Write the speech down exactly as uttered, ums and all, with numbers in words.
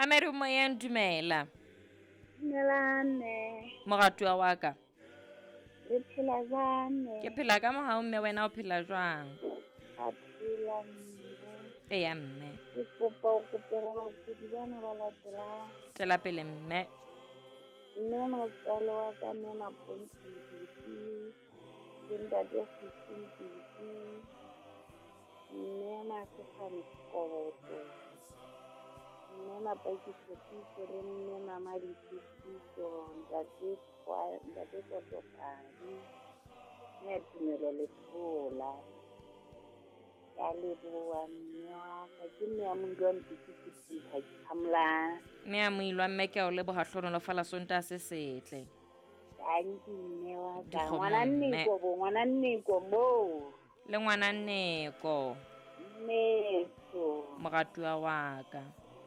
Mamedi o moyeng, dumela. Dumelang mme. Moratuwa wa ka. Le phela jwang mme? Ke phela ka mohau mme, wena o phela jwang? Ka phela mme. Eya mme. Ke kopa o kopela bakudi bana ba latelang. Tswela pele mme. Mme motswalo wa ka mme Mapontsho Mpiti, le ntate Sisi Mpiti, mme Masefane Sekoboto, mme Mapaki Tshepiso le mme Mamadi Tshepiso, ntate Twa- ntate Totopadi, mme Tumelo Lethola. Ke a leboha mme wa ka. Ke mme ya Moilwa Mpiti Sephutha, ke phamolang. Mme ya Moilwa mme, ke a o leboha, hlohonolofala Sontaha se setle. Tanki mme wa ka. Dikgomo Ngwana mme. Nneko bo, ngwana Nneko moo. Le ngwana Nneko. Mmeso. Moratuwa wa ka.